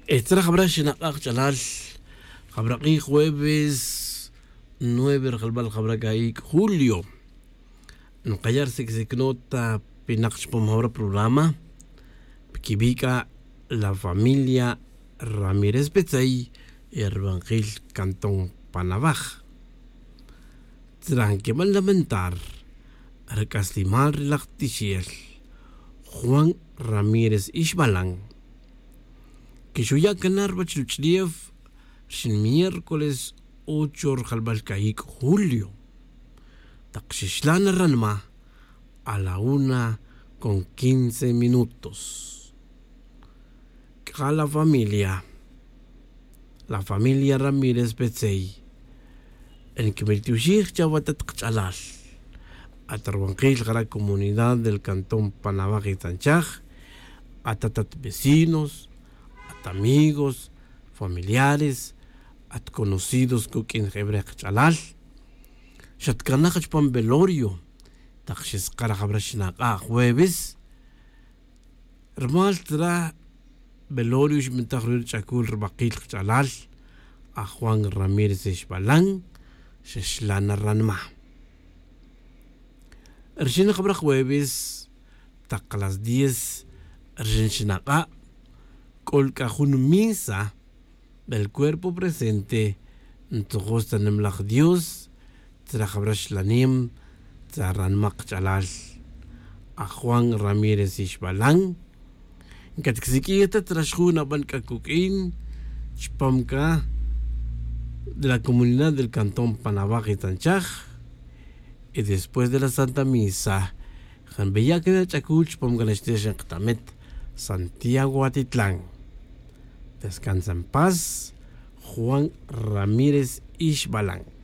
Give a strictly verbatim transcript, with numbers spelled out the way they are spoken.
Tzra jabra xinak'a' kach'alal, jabra k'ij jueves nueve rjalbal jabra ka'ik' julio, nkaya' rsiksic nota pinak chupam jabra programa. Piquibi' c'a la familia Ramírez Petzey, e rubankil cantón panabaj. Tzra nquiban lamentar ri c'aslimal ri laj tixel Juan Ramírez Ixbalan, que xuya' cana ruwech ruch'ulef rxin miércoles ocho rjalbal cayic' julio, tak xixla' na ranma a la una con quince minutos. C'a la familia, la familia Ramírez Petzey, nquimiltioxij chawe atat kach'alal, at ruwankil jara' comunidad del cantón panabaj y tzanchaj, atat at vecinos, at amigos, familiares, at conocidos cuq'uin jebrej kach'alal. Xatcanaj chupam velorio tak xeskar jabra xinak'a' jueves. Rumal tzra velorio xbintaj ruwi' ruch'acul rubakil kach'alal a Juan Ramírez Ixbalan, xexla' na ranma. Rxin jabra jueves tak las diez rxin xinak'a', c'o c'a jun misa, el cuerpo presente ntzujus ta nimalaj Dios tzra jabra xlanem tzra ranma kach'alal a Juan Ramírez Ixbalan. Ncatcsiq'uij ta tzra xjun aban c'a cuq'uin chupam c'a de la comunidad del cantón panabaj y tzanchaj. Y después de la santa misa, janbeya' can ach'acul chupam can axtex nkatamet Santiago Atitlán. Descansa en paz, Juan Ramírez Ixbalan.